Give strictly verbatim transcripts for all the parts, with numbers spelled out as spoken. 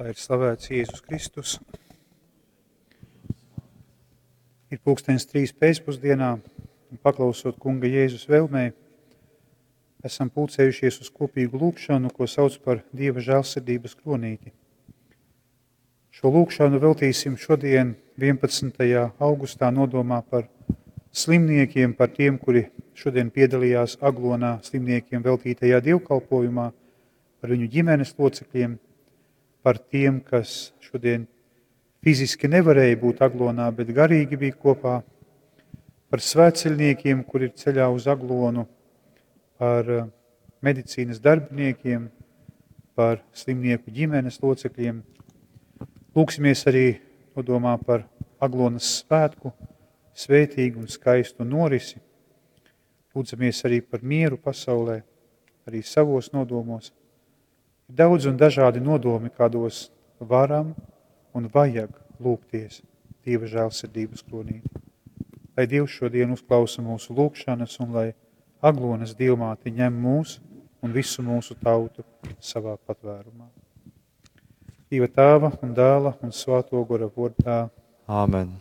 Lai ir slavēts Jēzus Kristus. Ir pulkstenis trīs pēcpusdienā, un paklausot Kunga Jēzus vēlmei, esam pulcējušies uz kopīgu lūgšanu, ko sauc par Dieva žēlsirdības kronīti. Šo lūgšanu veltīsim šodien vienpadsmitajā augustā nodomā par slimniekiem, par tiem, kuri šodien piedalījās Aglonā slimniekiem veltītajā dievkalpojumā, par viņu ģimenes locekļiem, par tiem, kas šodien fiziski nevarēja būt Aglonā, bet garīgi bija kopā, par svētceļniekiem, kuri ir ceļā uz Aglonu, par, eh, medicīnas darbiniekiem, par slimnieku ģimenes locekļiem. Lūgsimies arī nodomā par Aglonas svētku, svētīgu un skaistu norisi. Lūdzamies arī par mieru pasaulē, arī savos nodomos. Ir daudz un dažādi nodomi, kādos varam un vajag lūgties Dieva žēlsirdības kronīti. Lai Dievs šodien uzklausa mūsu lūgšanas un lai Aglonas Dievmāte ņem mūs un visu mūsu tautu savā patvērumā. Dieva Tēva un Dēla un Svēto Gora vārdā. Āmen.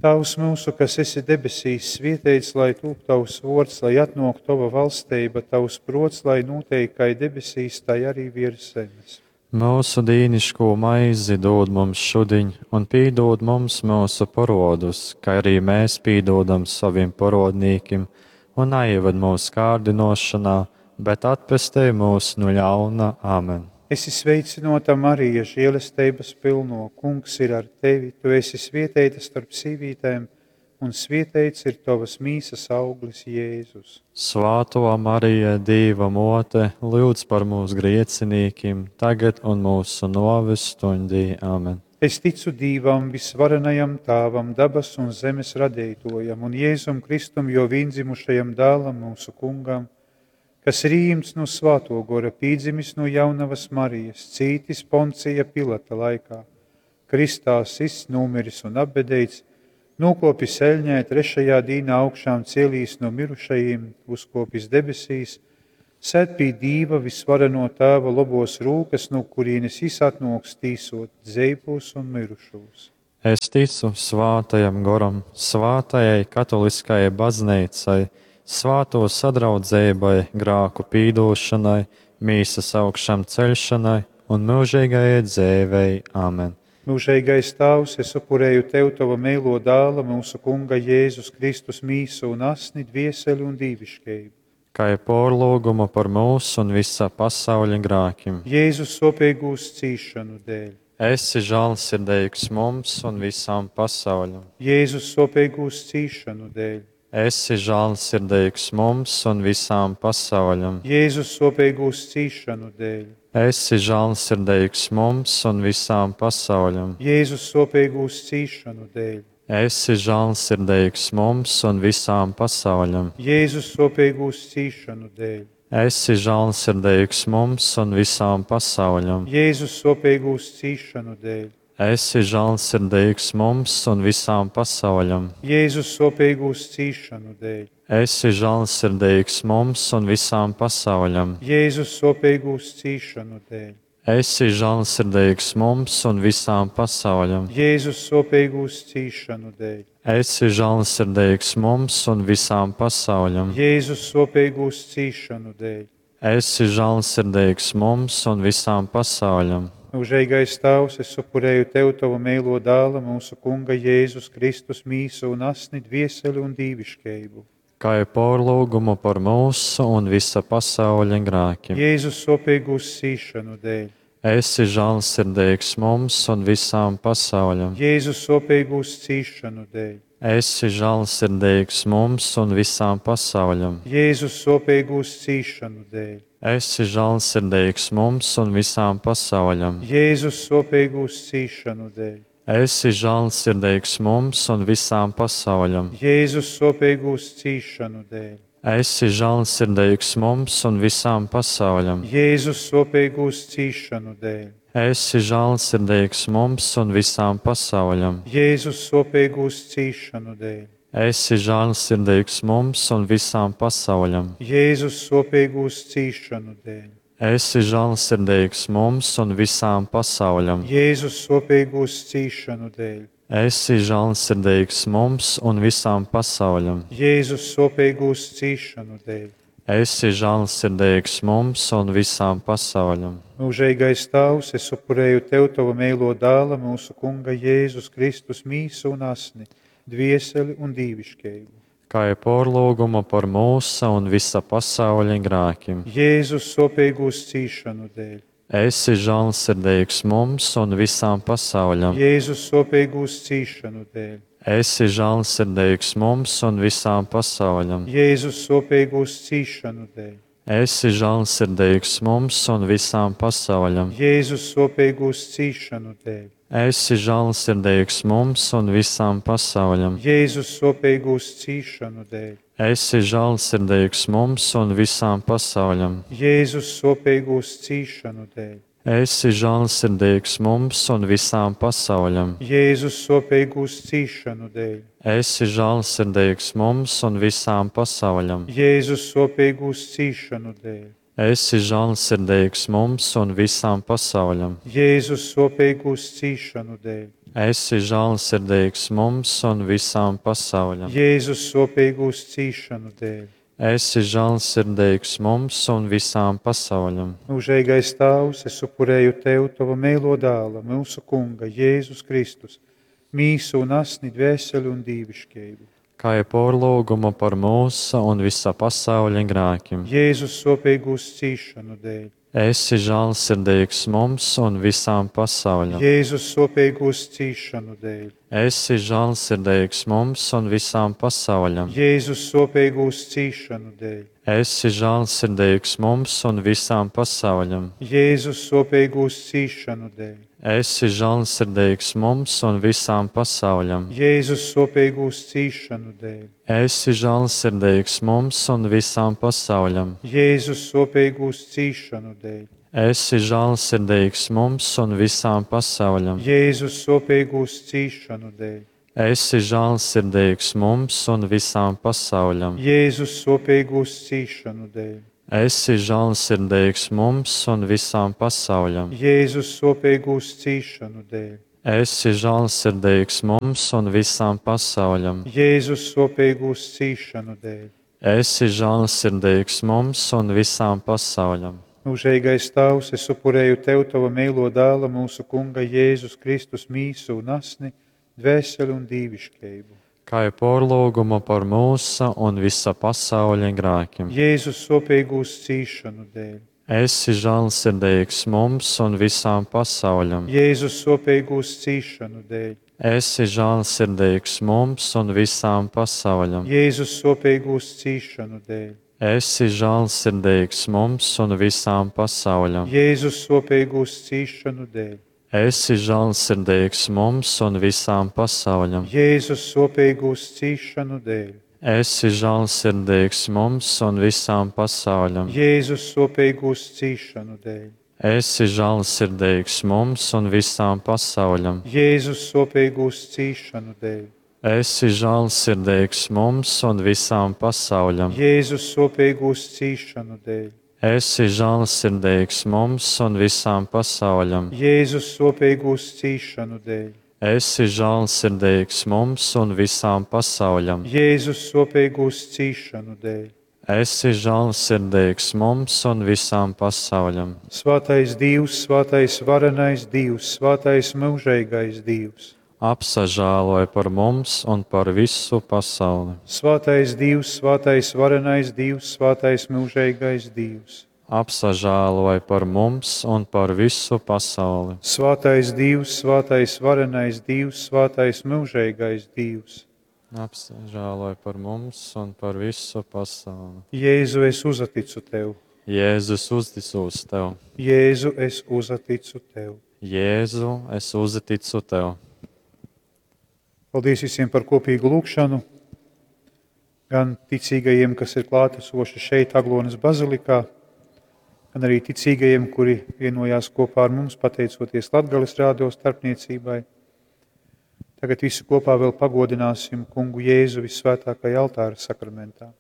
Tēvs mūsu, kas esi debesīs, svētīts lai tūp tavs vārds, lai atnāk tava valstība, tavs prots, lai notiek kā debesīs, tai arī virs zemes. Mūsu dīniško maizi dod mums šodien, un pīdod mums mūsu parodus, kā arī mēs pīdodam saviem parodnīkim, un neieved mūsu kārdinošanā, bet atpestej mūs no ļauna. Āmen. Esi sveicināta, Marija, žēlestības pilno, Kungs ir ar tevi, tu esi svētīta starp sīvītēm, un svētīts ir tavas mīsas auglis, Jēzus. Svētā Marija, Dieva mote, lūdz par mūsu griecinīkim, tagad un mūsu noves stundī. Āmen. Es ticu Dievam, visvarenajam Tēvam, dabas un zemes radītojam, un Jēzum Kristum, jo viendzimušajam dēlam, mūsu kungam, kas ir ījimts no Svēto Gora, pīdzimis no jaunavas Marijas, cītis Poncija Pilata laikā, kristā sists, numiris un apbedīts, nokopis eļņē, trešajā dīnā augšām cielīs no mirušajiem, uzkopis debesīs, sēd pie Dīva visvareno Tēva lobos rūkas, no kurienes jis atnoks tīsot dzeivos un mirušos. Es ticu Svātajam Goram, Svātajai katoliskajai baznīcai, svāto sadraudzībai, grāku pīdošanai, mīsas augšām ceļšanai un mūžīgajai dzīvei. Āmen. Mūžīgais Tēvs, es upurēju Tev Tava mīlo dēla, mūsu Kunga Jēzus Kristus mīsu un asni, dvieseli un dīvišķību. Kā ir porlūgumu par mūsu un visa pasauļa grākiem. Jēzus sopīgūs cīšanu dēļ. Esi žēlsirdīgs mums un visām pasauļam. Jēzus sopīgūs cīšanu dēļ. Esi žēlsirdīgs mums un visām pasauļam. Jēzus sopīgūs cīšanu dēļ. Esi žēlsirdīgs mums un visām pasauļam. Jēzus sopīgūs cīšanu dēļ. Esi žēlsirdīgs mums un visām pasauļam. Jēzus sopīgūs cīšanu dēļ. Esi žēlsirdīgs mums un visām pasauļam. Jēzus sopīgūs cīšanu dēļ. Esi žēlsirdīgs mums un visām pasauļam. Jēzus sopīgūs cīšanu dēļ. Esi žēlsirdīgs mums un visām pasauļam. Jēzus sopīgūs cīšanu dēļ. Esi žēlsirdīgs mums un visām pasauļam. Jēzus sopīgūs cīšanu dēļ. Esi žēlsirdīgs mums un visām pasauļam. Jēzus sopīgūs cīšanu dēļ. Esi žēlsirdīgs mums un visām pasauļam. Mūžīgais Tēvs, es upurēju Tev Tavu mīlo dēla, mūsu Kunga Jēzus Kristus mīsu un asni, dvieseli un dīvišķību. Kā ir porlūgumu par mūsu un visa pasauļa grākiem. Jēzus sopīgūs cīšanu dēļ. Esi žēlsirdīgs mums un visām pasauļam. Jēzus sopīgūs cīšanu dēļ. Esi žēlsirdīgs mums un visām pasauļam. Jēzus sopīgūs cīšanu dēļ. Esi žēlsirdīgs mums un visām pasauļam. Jēzus sopīgūs cīšanu dēļ. Esi žēlsirdīgs mums un visām pasauļam. Jēzus sopīgūs cīšanu dēļ. Esi žēlsirdīgs mums un visām pasauļam. Jēzus sopīgūs cīšanu dēļ. Esi žēlsirdīgs mums un visām pasauļam. Jēzus sopīgūs cīšanu dēļ. Esi žēlsirdīgs mums un visām pasauļam. Jēzus sopīgūs cīšanu dēļ. Esi žālsirdīgs mums un visām pasauļam. Jēzus sopīgūs cīšanu dēļ. Esi žālsirdīgs mums un visām pasauļam. Jēzus sopīgūs cīšanu dēļ. Esi žālsirdīgs mums un visām pasauļam. Mūžīgais Tēvs, es upurēju Tev Tava mīlo dēla, mūsu Kunga Jēzus Kristus mīsu un asni, dvieseli un dīvišķību. Kā ir porlūgumu par mūsu un visa pasauļa grēkiem. Jēzus sopīgūs cīšanu dēļ. Esi žālsirdīgs mums un visām pasauļam. Jēzus sopīgūs cīšanu dēļ. Esi žālsirdīgs mums un visām pasauļam. Jēzus sopīgūs cīšanu dēļ. Esi žālsirdīgs mums un visām pasauļam. Jēzus sopīgūs cīšanu dēļ. Esi žālsirdīgs mums un visām pasauļam. Jēzus sopīgūs cīšanu dēļ. Esi žālsirdīgs mums un visām pasauļam. Jēzus sopīgūs cīšanu dēļ. Esi žālsirdīgs mums un visām pasauļam. Jēzus sopīgūs cīšanu dēļ. Esi žālsirdīgs mums un visām pasauļam. Jēzus sopīgūs cīšanu dēļ. Esi žālsirdīgs mums un visām pasauļam. Jēzus sopīgūs cīšanu dēļ. Esi žālsirdīgs mums un visām pasauļam. Jēzus sopīgūs cīšanu dēļ. Esi žālsirdīgs mums un visām pasauļam. Mūžīgais Tēvs, es upurēju Tev Tava mīlo dēla, mūsu Kunga Jēzus Kristus, mīsu un asni, dvēseli un dīvišķību. Kā ir porlūgumu par mūsu un visa pasauļa grēkiem. Jēzus sopīgūs cīšanu dēļ. Esi žālsirdīgs mums un visām pasauļam. Jēzus sopīgūs cīšanu dēļ. Esi žālsirdīgs mums un visām pasauļam. Jēzus sopīgūs cīšanu dēļ. Esi žālsirdīgs mums un visām pasauļam. Jēzus sopīgūs cīšanu dēļ. Esi žālsirdīgs mums un visām pasauļam. Jēzus sopīgūs cīšanu dēļ. Esi žālsirdīgs mums un visām pasauļam. Jēzus sopīgūs cīšanu dēļ. Esi žālsirdīgs mums un visām pasauļam. Jēzus sopīgūs cīšanu dēļ. Esi žālsirdīgs mums un visām pasauļam. Jēzus sopīgūs cīšanu dēļ. Esi žālsirdīgs mums un visām pasauļam. Jēzus sopīgūs cīšanu dēļ. Esi žālsirdīgs mums un visām pasauļam. Jēzus sopīgūs cīšanu dēļ. Esi žālsirdīgs mums un visām pasauļam. Mūžīgais Tēvs, es upurēju Tev Tava mīlo dēla, mūsu Kunga Jēzus Kristus mīsu un asni, dvēseli un dīvišķību. Kā ir porlūgumu par mūsu un visa pasauļa grēkiem. Jēzus sopīgūs cīšanu dēļ. Esi žālsirdīgs mums un visām pasauļam. Jēzus sopīgūs cīšanu dēļ. Esi žālsirdīgs mums un visām pasauļam. Jēzus sopīgūs cīšanu dēļ. Esi žālsirdīgs mums un visām pasauļam. Jēzus sopīgūs cīšanu dēļ. Esi žālsirdīgs mums un visām pasauļam. Jēzus sopīgūs cīšanu dēļ. Esi žālsirdīgs mums un visām pasauļam. Jēzus sopīgūs cīšanu dēļ. Esi žālsirdīgs mums un visām pasauļam. Jēzus sopīgūs cīšanu dēļ. Esi žālsirdīgs mums un visām pasauļam. Jēzus sopīgūs cīšanu dēļ. Esi žālsirdīgs mums un visām pasauļam. Jēzus sopīgūs cīšanu dēļ. Esi žālsirdīgs mums un visām pasauļam. Jēzus sopīgūs cīšanu dēļ. Esi žālsirdīgs mums un visām pasauļam. Svētais Dievs, svētais varenais Dievs, svētais mūžīgais Dievs. Apsažāloj par mums un par visu pasauli. Svētais Dievs, svētais varenais Dievs, svētais mūžīgais Dievs. Apsažāloj par mums un par visu pasauli. Svētais Dievs, svētais varenais Dievs, svētais mūžīgais Dievs. Apsažāloj par mums un par visu pasauli. Jēzu, es uzticu tev. Jēzus, uzticos tev. Jēzu, es uzticu tev. Jēzu, es uzticu tev. Paldies visiem par kopīgu lūgšanu, gan ticīgajiem, kas ir klātesoši šeit, Aglonas bazilikā, gan arī ticīgajiem, kuri vienojās kopā ar mums, pateicoties Latgales rādio starpniecībai. Tagad visi kopā vēl pagodināsim kungu Jēzu visvētākajā altāra sakramentā.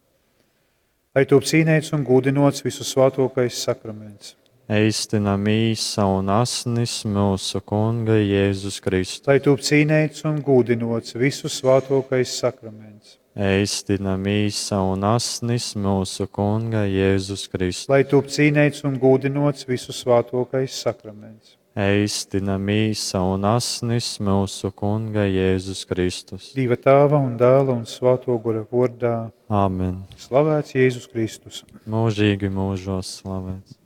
Lai top cīnēts un gūdinots visu svētākais sakraments. Eistina mīsa un asnis mūsu Kunga Jēzus Kristus. Lai tūp cīneits un gūdinots visu svātōkais sakraments. Eistina mīsa un asnis mūsu Kunga Jēzus Kristus. Lai tūp cīneits un gūdinots visu svātōkais sakraments. Eistina mīsa un asnis mūsu Kunga Jēzus Kristus. Dieva Tāva un Dēla un Svāto Gora vordā. Āmen. Slavēts Jēzus Kristus. Mūžīgi mūžos slavēts.